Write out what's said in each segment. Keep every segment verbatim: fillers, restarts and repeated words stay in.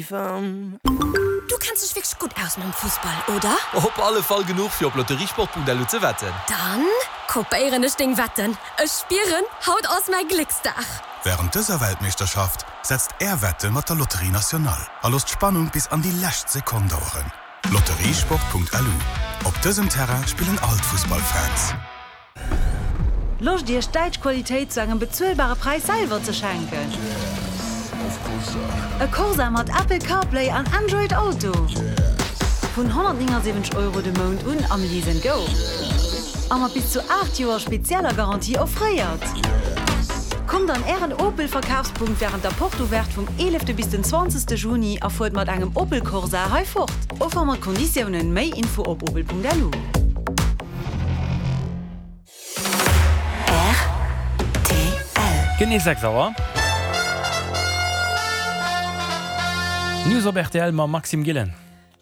Du kenns dech wierklech gutt aus mam Fussball, oder? Op alle Fall genuch fir op lotteriesport Punkt L U ze wetten. Dann kopéieren ech deng Wetten. Ech spieren, haut ass mäi Glécksdag. Wärend dëser Weltmeeschterschaft setzt är Wette mat der Loterie Nationale a loosst d'Spannung bis an déi lescht Sekonn daueren. Lotteriesport Punkt L U Op dësem Terrain spillen all d'Fussballfans. Loscht Iech däitsch Qualitéit zu engem bezuelbare Präis selwer ze schenken? E Corsa mat Apple CarPlay an Android Auto! Vun honnertnéngasiwwenzeg Euro de Mount un am Lease and Go. A mat bis zu aacht Joer spezieller Garantie offréiert. Kommt an ären Opel Verkafspunkt wärend der Porte Ouverte vum eelefte bis den zwanzegste Juni a fuert mat engem Opel Corsa hei fort. Offer mat Konditiounen, méi Info op opel Punkt L U. Genee sechs Auer. News op R T L mam Maxime Gillen.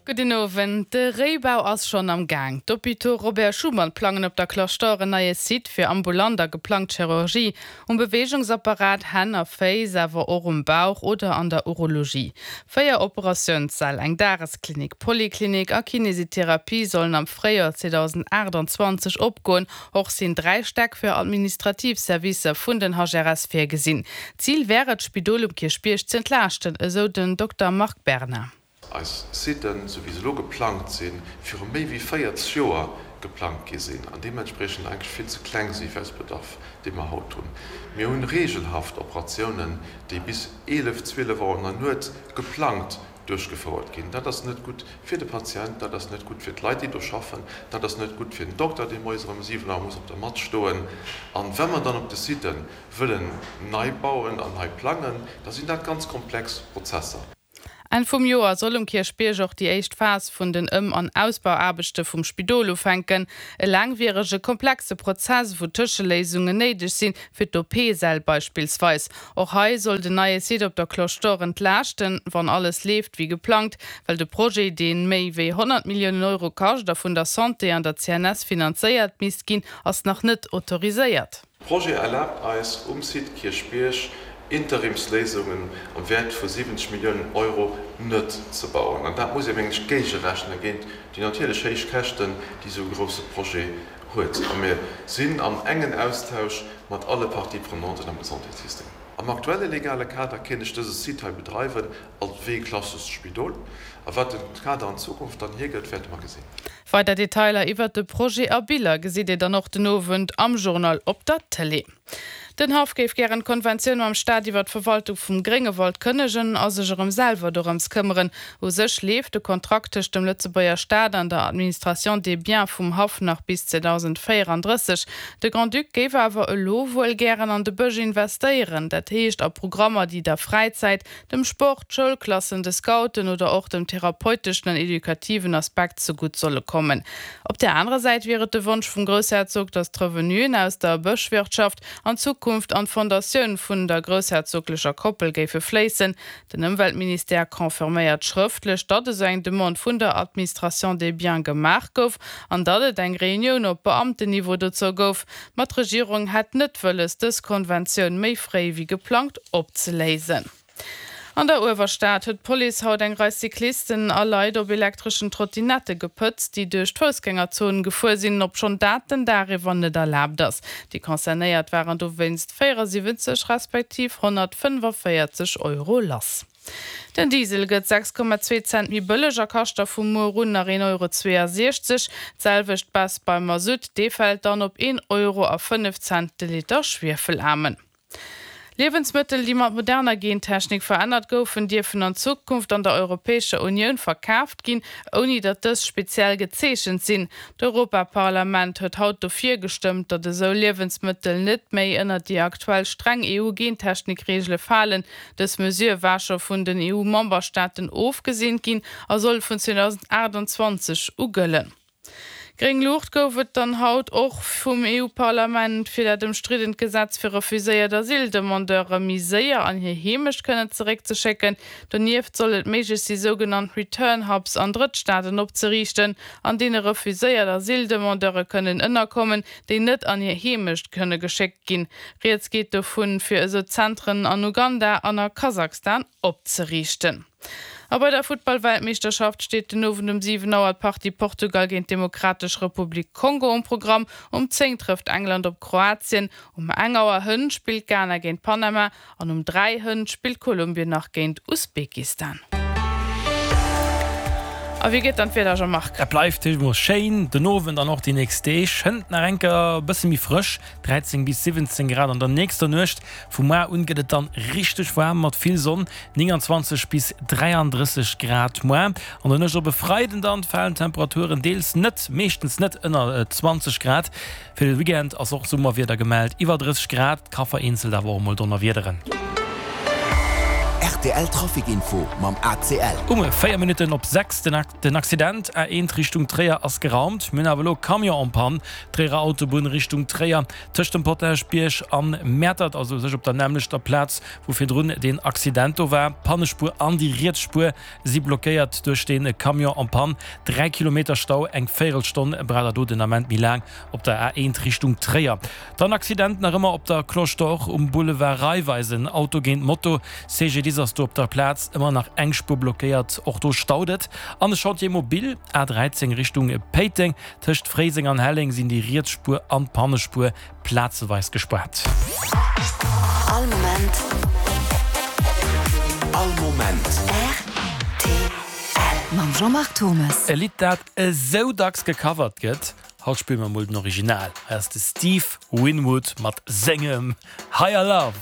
Gudden Owend. De Réibau ass schonn am Gaang. D'Hôpitaux Robert Schuman plangen op der Cloche d'Or en neie Site fir ambulant a geplangt Chirurgie. Um Beweegungsapparat, Hänn a Féiss, awer och um Bauch oder an der Urologie. Véier Operatiounssäll, eng Dagesklinik, Poliklinik a Kinesitherapie sollen am Fréijoer zweedausendaachtanzwanzeg opgoen. Och sinn dräi Stäck fir administrativ Servicer vun den H R S virgesinn. Zil wär et, d'Spidol um Kierchbierg z'entlaaschten, esou den Dokter Marc Berna. Eis Siten, sou wéi se elo geplangt sinn, viru méi wéi véierzeg Joer geplangt gi sinn an deementspriechend eigentlech vill ze kleng si fir eise Bedarf, dee mer haut hunn. Mir hunn regelhaft Operatiounen, déi bis eelef, zwielef Auer an der Nuet geplangt duerchgefouert ginn. Dat ass net gutt fir de Patient, dat ass net gutt fir d'Leit, déi do schaffen, dat ass net gutt fir den Dokter, dee moies erëm siwen Auer muss op der Matt stoen. An wa mer dann op de Siten wëllen nei bauen an nei plangen, da sinn dat ganz komplex Prozesser. Enn vum Joer soll um Kierchbierg och déi éischt Phas vun den Ëm an Ausbauaarbechte vum Spidol ufänken. E laangwierege, komplexe Prozess, wou Tëscheléisungen néideg sinn, fir d'O P-Säll beispillsweis. Och hei soll den neie Site op der Cloche d'Or entlaaschten, wann alles leeft wéi geplangt, well de Projet, dee méi wéi honnert Milliounen Euro kascht a vun der Santé an der C N S finanzéiert misst ginn, ass nach net autoriséiert. De Projet erlaabt eis, um Site Kierchbierg Interimsléisungen am Wäert vu siwwenzeg Milliounen Euro net ze bauen. An dat muss ee mengen ech géigerechne géint déi natierlech héich Käschten, déi esou e grousse Projet huet. A mir sinn am engen Austausch mat alle Parties prenanten am Gesondheetssystem. Am aktuelle legale Kader kéint ech dëse Site hei bedreiwen als wéi e klassescht Spidol. A wat de Kader an Zukunft dann hiergëtt, wäerte mer gesinn. Weider Detailer iwwert de Projet a Biller gesitt Dir dann och den Owend am Journal op der Tëlee. Den Haff géif gären d'Konventioun mam Staat iwwer d'Verwaltung vum Gréngewald kënnegen a sech erëm selwer dorëms këmmeren. U sech leeft de Kontrakt tëscht dem Lëtzebuerger Staat an der Administration des biens vum Haff nach bis zweedausendvéierandrësseg. De Grand-Duc géif awer elo wuel gären an de Bësch investéieren, dat heescht a Programmer, déi der Fräizäit, dem Sport, Schoulklassen, de Scouten oder och dem therapeuteschen an edukativen Aspekt zegutt solle kommen. Op der anerer Säit wier et de Wonsch vum Groussherzog, datt d'Revenuen aus der Bëschwirtschaft an Zukunft an d'Fondatioun vun der groussherzoglecher Koppel géife fléissen. Den Ëmweltministère confirméiert schrëftlech, datt esou eng Demande vun der Administration des biens gemaach gouf an datt et eng Reunioun op Beamtenniveau dozou gouf. Ma d'Regierung hätt net wëlles, dës Konventioun méi fréi wéi geplangt opzeléisen. An der Uewerstad huet d'Police haut eng Rei Cyclisten a Leit op elektreschen Trottinette gepëtzt, déi duerch d'Foussgängerzon gefuer sinn, obschonn dat den Dag iwwer net erlaabt ass. Déi Concernéiert waren dowéinst véierasiwwenzeg respektiv honnertfënnefavéierzeg Euro lass. Den Diesel gëtt sechs Komma zwee Cent méi bëlleg a kascht da vu muer un nach een Euro zweeënsiechzeg. D'selwecht Baisse beim Masutt, dee fält dann op een Euro a fënnef Cent de Liter Schwiefelaarmen. Liewensmëttel, déi mat moderner Gentechnik verännert goufen, dierfen an Zukunft an der Europäescher Unioun verkaaft ginn, ouni datt dës speziell gezeechent sinn. D'Europaparlament huet haut dofir gestëmmt, datt esou Liewensmëttel net méi ënnert déi aktuell streng E U-Gentechnik-Reegele falen. Dës Mesure war scho vun den E U-Memberstaaten ofgeseent ginn a soll vun zweedausendaachtanzwanzeg u gëllen. Gréng Luucht gouf et dann haut och vum E U-Parlament fir dat ëmstriddent Gesetz fir refuséiert Asyldemandeure méi séier an hir Heemecht kënnen zeréckzeschécken. Donieft soll et méiglech si sougenannt Return Hubs an Drëttstaaten opzeriichten, an deene refuséiert Asyldemandeure kënnen ënnerkommen, déi net an hir Heemecht kënne geschéckt ginn. Rieds geet dovun, fir esou Zentren an Uganda an a Kasachstan opzeriichten. A bei der Futtball-Weltmeeschterschaft steet den Owend um siwen Auer d'Partie Portugal géint d'Demokratesch Republik Kongo um Programm. Um zéng trëfft England op Kroatien, um eng Auer hënt spillt Ghana géint Panama an um dräi hënt spillt Kolumbien nach géint Usbekistan. A wéi geet dann d'Wieder, Jean-Marc? Et bleift emol schéin den Owend an och déi nächst Deeg. Hënt nach eng Kéier e bësse méi frësch, dräizéng bis siwwenzéng Grad an der nächster Nuecht. Vu muar un gëtt et dann richteg waarm mat vill Sonn, nénganzwanzeg bis dräiandrësseg Grad muar. An der Nuecht op e Freiden dann falen d'Temperaturen deels net, meeschtens net ënner zwanzeg Grad. Fir de Weekend ass och Summerwieder gemellt, iwwer drësseg Grad, ka vereenzelt awer och emol donnerwiederen. Rtl Trafic Info mam A C L. Um véier Minutten op sechs den Accident A eent Richtung Tréier ass geraumt. Mir hunn awer elo Camion en panne, Tréierer Autobunn Richtung Tréier tëscht dem Potaschbierg an Mäertert, also u sech op der nämmlechter Plaz wou virdrun deen Accident do war. D'Pannespuer an déi riets Spuer si blockéiert duerch dee Camion en panne. Dräi Kilometer Stau, eng Véierelstonn braucht der do den Ament méi laang op der A eent Richtung Tréier. Dann Accident nach ëmmer op der Cloche d'Or um Boulevard Raiffeisen, Auto géint Moto, C G D I S ass do op der Plaz, ëmmer nach eng Spuer blockéiert, och do staut et. An de Chantier mobile A dräizéng Richtung Péiteng, tëscht Fréiseng an Helleng sinn déi riets Spuer an d'Pannespuer plazeweis gespaart. All Moment. All Moment. R T L mam Jean-Marc Thommes. E Lidd dat esou dacks gecovert gëtt, haut spille mer mol den Original. Hei ass de Steve Winwood mat sengem Higher Love.